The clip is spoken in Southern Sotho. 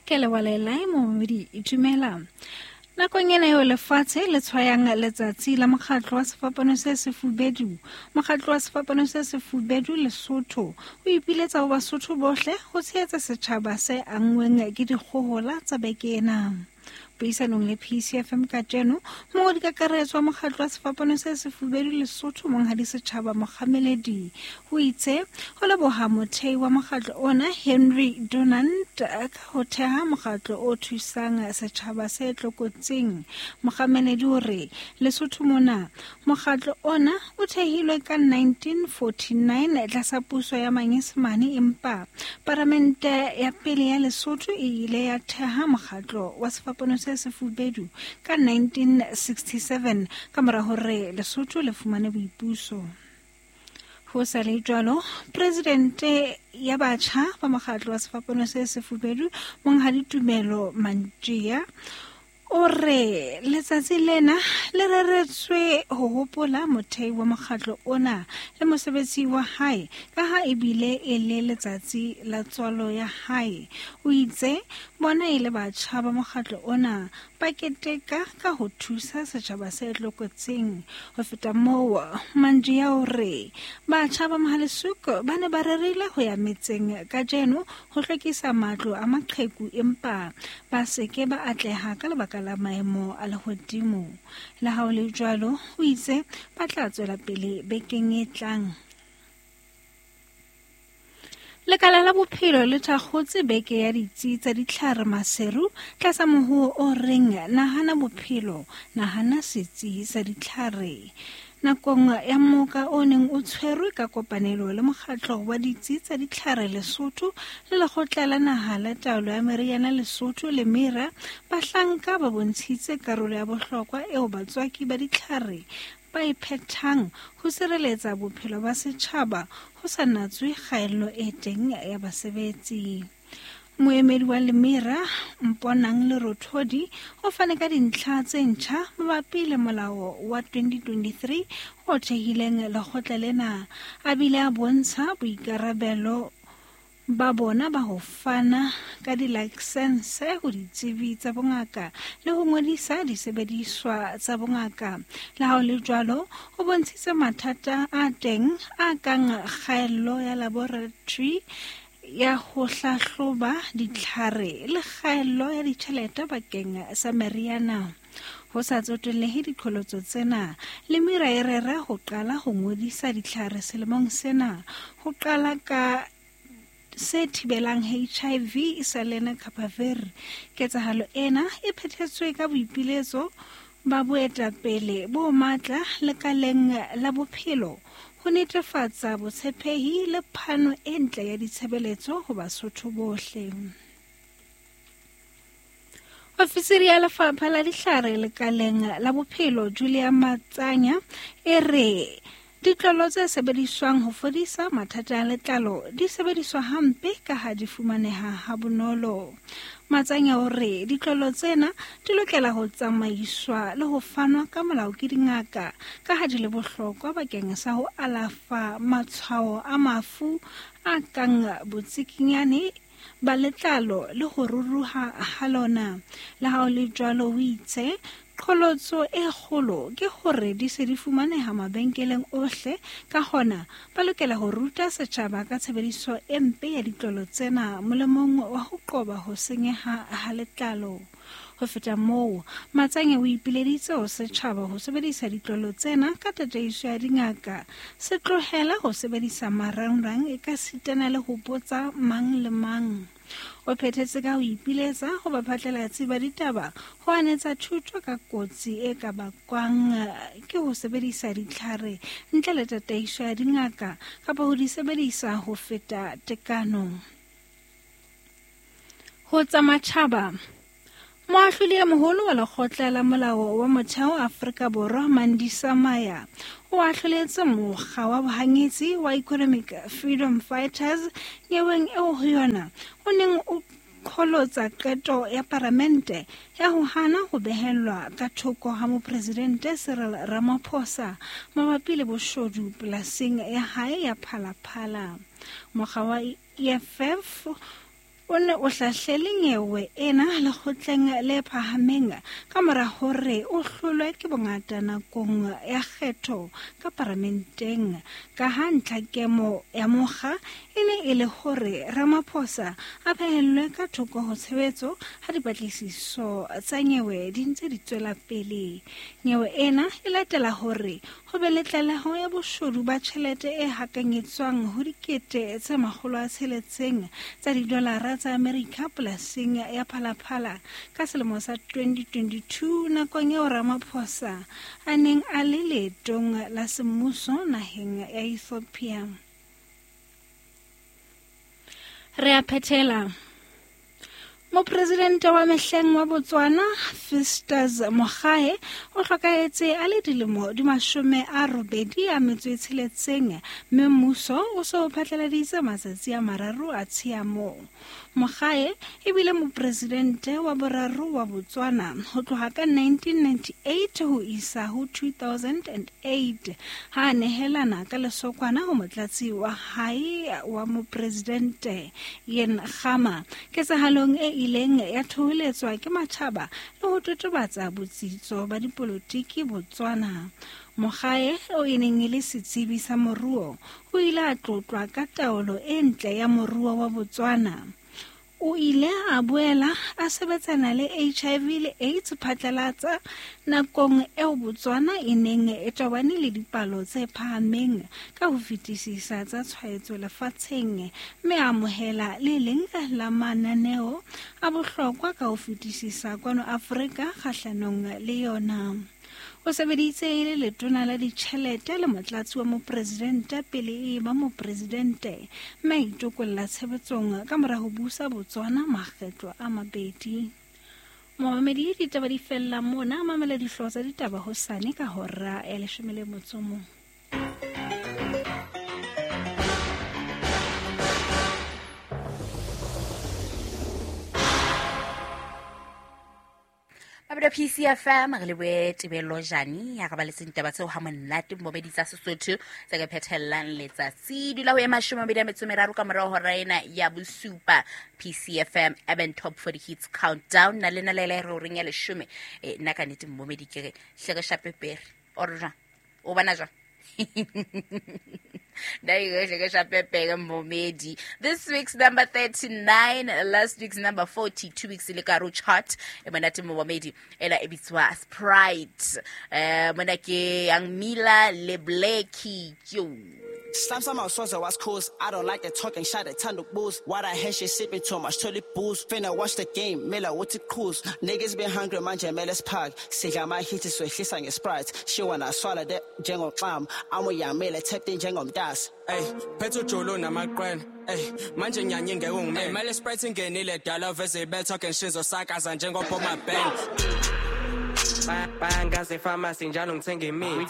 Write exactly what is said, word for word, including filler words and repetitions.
Ke leboha momamedi dumela. Nakong ena eo lefatshe le tshwayang letsatsi la mokgatlo wa sefapano se sefubedu, mokgatlo wa sefapano se sefubedu Lesotho o ipiletsa ho Basotho bohle ho tshehetsa setjhaba se anngweng ke dikgohola tsa beke ena. Puisanong le P C F M kajeno, mongodi kakaretso wa mokgatlo wa sefapano se sefubedu Lesotho Monghadi Setjhaba Mokgameledi o itse ho leboha mothei wa mokgatlo ona Henry Dunant ka ho theha mokgatlo o thusang setjhaba se tlokotsing. Mokgameledi o re Lesotho mona mokgatlo ona o thehilwe ka nineteen forty-nine tlasa puso ya Manyesemane, empa paramente ya pele ya Lesotho e ile ya theha mokgatlo wa sefapano se sefubedu ka nineteen sixty-seven ka mora hore Lesotho le fumane boipuso. Ho sa le jwalo, presidente ya batjha ba mokgatlo wa sefapano se sefubedu Monghadi Tumelo Mantjia o re letsatsi lena le reretswe ho hopola mothei wa mokgatlo ona le mosebetsi wa hae ka ha ebile e le letsatsi la tswalo ya hae. O itse bona e le batjha ba mokgatlo ona ba keteka ka ho thusa setjhaba se tlokotsing. Ho feta moo, Mantjia o re batjha ba Mohalesuko ba ne ba rerile ho ya metseng kajeno ho hlwekisa matlo a maqheku, empa ba se ke ba atleha ka lebaka la maemo a lehodimo. Le ha ho le jwalo, o itse ba tla tswela pele bekeng e tlang. Lekala la bophelo le thakgotse beke ya ditsi tsa ditlhare Maseru tlasa mohoo o reng nahana bophelo, nahana setsi sa ditlhare. Nakong ya moka o neng o tshwerwe ka kopanelo le mokgatlo wa ditsi tsa ditlhare Lesotho le lekgotla la naha la taolo ya meriana Lesotho le Mira, bahlanka ba bontshitse karolo ya bohlokwa eo batswaki ba ditlhare ba e phethang ho sireletsa bophelo ba setjhaba ho sa natswe kgaello e teng ya basebetsi. Moemedi wa Lemira Mponang Lerothodi o fane ka dintlha tse ntjha mabapi le molao wa twenty twenty-three o thehileng lekgotla lena, a bile a bontsha boikarabelo ba bona ba ho fana ka dilaesense ho ditsebi tsa bongaka le ho ngodisa disebediswa tsa bongaka. Le ha ho le jwalo, o bontshitse mathata a teng a kang kgaello ya laboratory ya ho hlahloba ditlhare le kgaello ya ditjhelete bakeng sa meriana. Ho sa tsotellehe diqholotso tsena, Lemira e rera ho qala ho ngodisa ditlhare selemong sena, ho qala ka se thibelang H I V sa lenacapavir. Ketsahalo ena e phethetswe ka boipiletso ba boetapele bo matla lekaleng la bophelo ho netefatsa botshepehi le phano e ntle ya ditshebeletso ho Basotho bohle. Ofisiri ya lefapha la ditlhare lekaleng la bophelo Julia Matsanya e re ditlolo tse sebediswang ho fodisa mathata a letlalo di sebediswa hampe ka ha di fumaneha ha bonolo. Matsanya o re ditlolo tsena di lokela ho tsamaiswa le ho fanwa ka molao ke dingaka ka ha di le bohlokwa bakeng sa ho alafa matshwao a mafu a kang botsikinyane ba letlalo le ho ruruha ha lona. Le ha ho le jwalo, o itse qholotso e kgolo ke hore di se di fumaneha mabenkeleng ohle, ka hona ba lokela ho ruta setjhaba ka tshebediso e mpe ya ditlolo tsena molemong wa ho qoba ho senyeha ha letlalo. Ho feta moo, Matsanya o ipileditse ho setjhaba ho sebedisa ditlolo tsena ka tataiso ya dingaka, se tlohela ho sebedisa marangrang e ka sitana le ho botsa mang le mang. O phethetse ka ho ipiletsa ho baphatlalatsi ba ditaba ho anetsa thuto ka kotsi e ka bakwang ke ho sebedisa ditlhare ntle le tataiso ya dingaka kapa ho di sebedisa ho feta tekano. Ho tsa matjhaba, Moahlodi e moholo wa lekgotla la molao wa motheo Afrika Borwa Mandisa Maya o ahloletse mokga wa bohanyetsi wa Economic Freedom Fighters nyeweng eo ho yona o neng o qholotsa qeto ya paramente ya ho hana ho behellwa ka thoko ha mopresidente Cyril Ramaphosa mabapi le boshodu polasing ya hae ya Phalaphala. Mokga wa E F F o ne o hlahlele nyewe ena lekgotleng le phahameng ka mora hore o hlolwe ke bongata nakong ya kgetho ka paramenteng. Ka ha ntlhakemo ya mokga e ne e le hore Ramaphosa a phehellwe ka thoko ho tshebetso ha dipatlisiso tsa nyewe di ntse di tswela pele. Nyewe ena e latela hore ho be le tlaleho ya boshodu ba tjhelete e hakanyetswang ho dikete tse makgolo a tsheletseng tsa didolara tsa Amerika polasing ya Phalaphala ka selemo sa twenty twenty-two nakong eo Ramaphosa a neng a le leetong la semmuso naheng ya Ethiopia. Re a phethela. Mopresidente wa mehleng wa Botswana Festus Mogae o hlokahetse a le dilemo di mashome a robedi a metso e tsheletseng, mme mmuso o so phatlaladitse matsatsi a mararo a tshiamo. Mogae e bile mopresidente wa boraro wa Botswana ho tloha ka nineteen ninety-eight ho isa ho two thousand eight, ha a nehelana ka lesokwana ho motlatsi wa hae wa mopresidente Ian Khama. Ketsahalong e ileng ya thoholetswa ke matjhaba le ho totobatsa botsitso ba dipolotiki Botswana. Mogae o e neng e le setsebi sa moruo o ile a tlotlwa ka taolo e ntle ya moruo wa Botswana. O ile a boela a sebetsana le H I V le AIDS phatlalatsa nakong eo Botswana e neng e tobane le dipalo tse phahameng ka ho fetisisa tsa tshwaetso lefatsheng, mme a amohela le leng la mananeo a bohlokwa ka ho fetisisa kwano Afrika kgahlanong le yona. O sebeditse e le letona la ditjhelete le motlatsi wa mopresidente pele e ba mopresidente, mme a itokolla tshebetsong ka mora ho busa Botswana makgetlo a mabedi. Momamedi, ditaba di fella mona. Mamela dihlooho tsa ditaba hosane ka hora ya leshome le motso o mong. P C F M re lebohe Tebello Jani ya re baletseng ditaba tseo ha monate mmobedi tsa Sesotho tse ka phethellang letsatsi. Dula ho e mashome a mabedi a metso e meraro ka morao hora ena ya bosupa. P C F M Urban Top forty Hits Countdown na lena le le re horeng ya leshome. E nna ka nnete mmobedi ke re hle re shape pere or jwang o bona jwang? This week's number thirty-nine, last week's number forty, two weeks ile ka ro chart e monate momedi ela e bitswa Sprite. Eh mona ke Young Mila le Blackie yo. Slam some out was cool. I don't like the talking shot a ton of booze. Why the hell she sipping too much toilet booze? Finna watch the game, Miller what it cruise. Niggas been hungry, man, Jamelis Park. Siga my hit is with his and Sprite. She wanna swallow that jangle clam. I'm a young Miller tapped in jangle das. Hey, Petro Jolo na my grand. Hey, manje ngiyanyenge ungime. Mele Sprite ingenile dala veze be talking shizo sakaza njengoba my band. Bangaze pharmacy njalo ngithenga imithi.